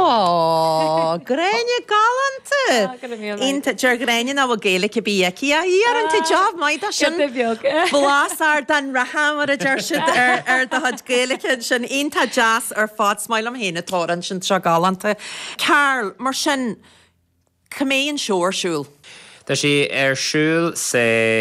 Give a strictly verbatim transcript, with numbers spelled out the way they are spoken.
Ó, Gráinne galánta! Iontach deir Gráinne nach bhfuil Gaeilge ar bith aici a ar an job maith dá sin. Blas Ardán Rátha mar a deir siad ar ar do chuid Gaeilge sin iontach deas ar fad is maith liom féin an t-amhrán sin seo galánta. Carl, mar sin cá mbeidh an seó ar siúl. Tá sé ar siúl sa